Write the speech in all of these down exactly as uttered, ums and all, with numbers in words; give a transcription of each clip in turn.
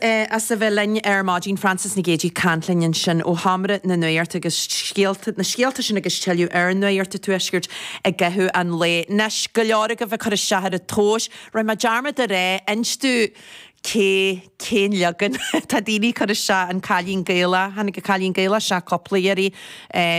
As a bheith linn ar maidin Frances Nic Géadaigh ag caint linn ansin ó Sheomra na Nuachta agus scéalta na scéalta sin agus tuilleadh ar Nuacht an Tuaiscirt i gcaitheamh an lae. Anois go leor agaibh ag cur isteach ar an tomhas, rinne mé dearmad a rá, inis domh cé cén leagan tá daoine ag cur isteach an Cailín Gaelach, tháinig an Cailín Gaelach isteach cúpla iarraidh,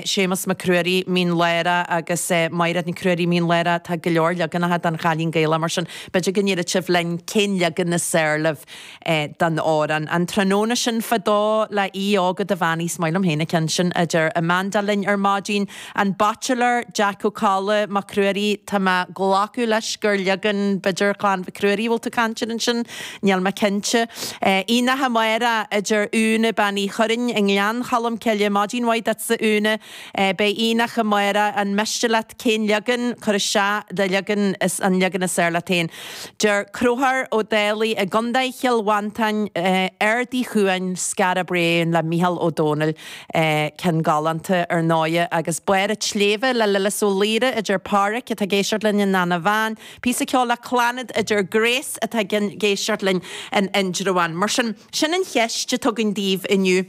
Séamus Mac Ruairí, Mín Lárach agus Mairéad Nic Ruairí, Mín Lárach, tá go leor leaganacha den Chailín Gaelach mar sin b'fhéidir go ndéarfadh sibh linn cén leagan is fearr libh den amhrán. An tráthnóna sin fadó le Aodh Óg Ó Duibheannaigh, is maith liom féin an ceann sin, a deir Amanda linn ar maidin. An Baitsiléir, Jack Ó Colla, Mac Ruairí, tá mé ag glacadh leis gur leagan b'fhéidir Chlann Mhic Ruairí a bhfuil tú ag caint air ansin, níl mé cinnte. Aonach Amárach, a deir Úna Bean Uí Churraoin i nGleann Cholm Cille, maidin mhaith duitse Úna. Beidh aonach amárach, an miste leat cén leagan, cuir isteach do leagan is an leagan is fearr leat féin. Deir Conchúr Ó Dálaigh i gContae Chill Mhantáin, Ard Uí Chuain, Skara Brae le Mícheál Ó Domhnaill, ceann galánta ar ndóighe, agus Barr an tSléibhe le Lillis Ó Laoire, a deir Páraic atá ag éisteacht linn in Eanach Mheáin, píosa ceoil le Clannad a deir Grace atá ag éisteacht linn in Indreabhán. Mar sin, sin an cheist atá againn daoibh inniu.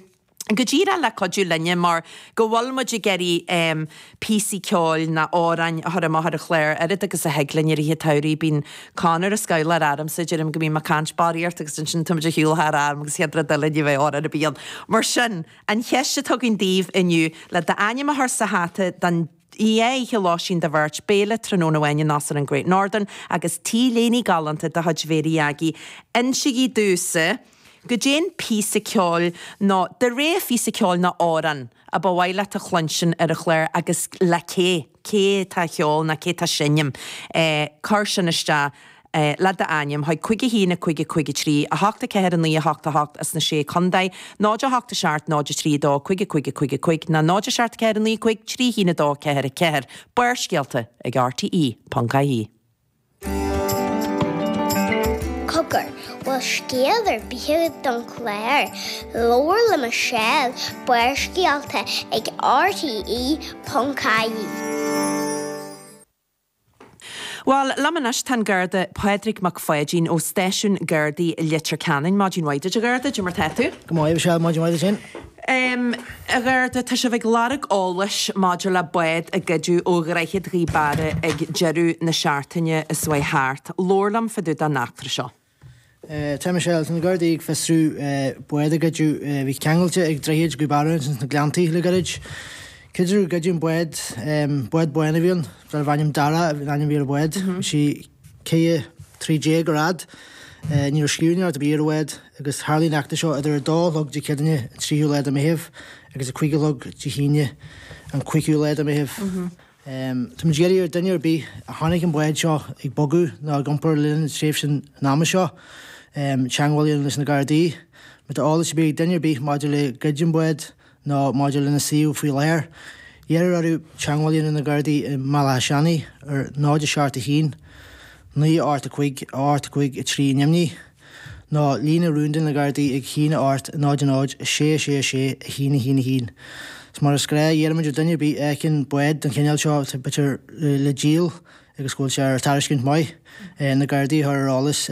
Go díreach le cuidiú linne mar go bhfuil muid ag iarraidh píosaí ceoil nó amhráin a chur amach ar an chlár oiread agus a thig linn i rith an tsamhraidh. Bíonn Conor ag scamhladh ormsa, deirim go mbím ag caint barraíocht agus ansin tá muid ar shiúl thar am agus chéad rud eile ní bheidh amhrán ar bith ann. Mar sin, an cheist atá againn daoibh inniu, le d'ainm a chur sa hata don dhá oíche lóistín do bheirt, béile tráthnóna amháin in Óstlann an Great Northern agus T-léine galánta de chuid Mhéirí Aggie. Insígí domhsa. Goidé an píosa ceoil nó do rogha phíosa ceoil nó amhrán a ba mhaith leat a chluinstin ar an chlár agus le cé, cé atá a cheol nó cé atá seinm. Cuir sin isteach le d'ainm chuig cúig a haon a cúig a cúig a trí, a hocht a ceathair a naoi a hocht a hocht as na Sé Chontae, náid a hocht a seacht náid a trí a dó cúig a cúig a cúig a cúig nó náid a seacht a ceathair a naoi cúig trí haon a dó ceathair a ceathair. Barrscéalta ag RTE ponc ie. Cogar, bhfuil scéal ar bith agat don chlár? Labhair le Michelle, Barrscéalta ag RTE ponc ie. Bhuel, liom anois tá an Garda Pádraig Mac Pháidín ó Stáisiún Gardaí Leitir Ceanainn. Maidin mhaith duit, a Gharda, cad é mar tá tú? Go maith, Michelle, maidin mhaith duit féin. Um, a Gharda, tá sibh ag lorg eolais maidir le bád a goideadh ó Dhroichead Ghaoth Beara ag deireadh na seachtaine a chuaigh thart. Labhair liom fá dtaobh den eachtra seo. Tá Michelle, tá na Gardaí ag fiosrú bád a goideadh a bhí ceangailte ag Droichead Ghaoth Beara ins na Gleanntaí le gairid. Creidtear gur goideadh an bád, bád bán a bhí ann, darbh ainm Dara an ainm a bhí ar an bhád. Bhí sí ceithre trí déag ar fhad. Ní raibh scríbhneoireacht ar bith ar an bhád agus tharlaigh an eachtra seo idir a dó a chlog Dé Céadaoine an tríú lá de Mheitheamh agus a cúig a chlog Dé hAoine an cúigiú lá de Mheitheamh. Táimid ag iarraidh ar duine ar bith a chonaic an bád seo ag bogadh nó ag iompar le linn tréimhse an ama seo teagmháil a dhéanamh leis na Gardaí. Má tá eolas ar bith ag duine ar bith maidir le goid an bhád nó maidir lena suíomh faoi láthair, iarrtar orthu teagmháil a dhéanamh na Gardaí i mBaile Átha Seanaidh ar náid a seacht a haon, naoi a ocht a cúig, a ocht a cúig a trí i nDoimní, nó líne rúnda na Gardaí ag haon a ocht náid a náid a sé a sé a sé a haon a haon a haon. Is mar is gnách, iarraimid ar duine ar bith a fheiceann bád den chineál seo atá b'fhéidir le díol agus go bhfuil sé ar tairiscint maith, na Gardaí a chur ar eolas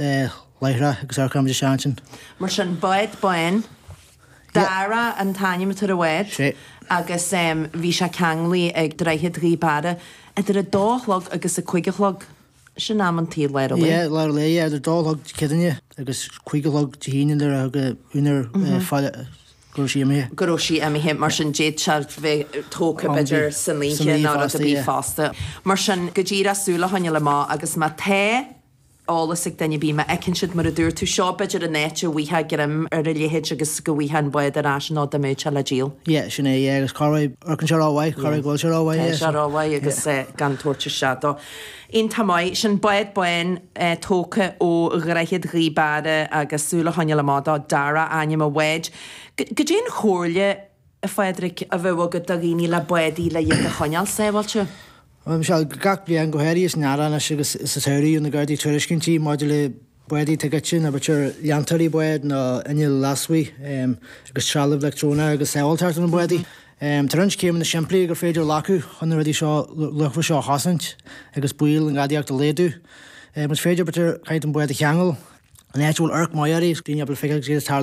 láithreach agus amharcfaimid isteach ansin. Mar sin, bád bán. Dara an t-ainm atá ar an bhád agus bhí sé ceanglaithe ag Droichead Ghaoth Beara idir a dó a chlog agus a cúig a chlog. Sin am an tsaoil lár an lae. Yeah, lár an lae, yeah, idir dó a chlog Dé Céadaoine agus cúig a chlog Dé hAoine nuair a thug a úinéir fáil go raibh sí imithe. Go raibh sí imithe, mar sin d'fhéadfadh sé bheith tógtha b'fhéidir san oíche nó rud ar bith fosta. Mar sin, go díreach súil a choinneáil amach agus má tá eolas ag duine ar bith, má fheiceann siad, mar a dúirt tú, seo b'fhéidir an áit a bhfaighfeá greim ar a leithéid agus go bhfaighfeá an bád ar ais nó dá mbeadh sé le díol. Yeah, sin é, yeah, agus corruair, amharcann sé rómhaith, corruair go bhfuil sé rómhaith, yeah. Tá sé rómhaith agus gan tabhairt isteach dó. Iontach maith. Sin bád bán tógtha ó Dhroichead Ghaoth Beara agus súil a choinneáil amach dó, Dara ainm an bháid. Goidé an chomhairle, a Phádraig, a bheadh agat do dhaoine le bádaí le iad a choinneáil sábháilte? Bhuel, Michelle, gach bliain, go háirithe san earrach anois agus sa samhradh, gheobhaidh na Gardaí tuairiscintí maidir le bádaí atá goidte nó b'fhéidir leantóirí bád nó innill lasmuigh agus trealamh leictreonach agus sábháilteacht ar na bádaí. Tá roinnt céimeanna simplí gur féidir a ghlacadh chun na rudaí seo luachmhara seo a chosaint agus baol na ngadaíocht a laghdú. Más féidir, b'fhéidir, caithfidh tú an bád a cheangal. An áit bhfuil amharc maith uirthi, daoine ábalta feiceáil cad ag tarlú.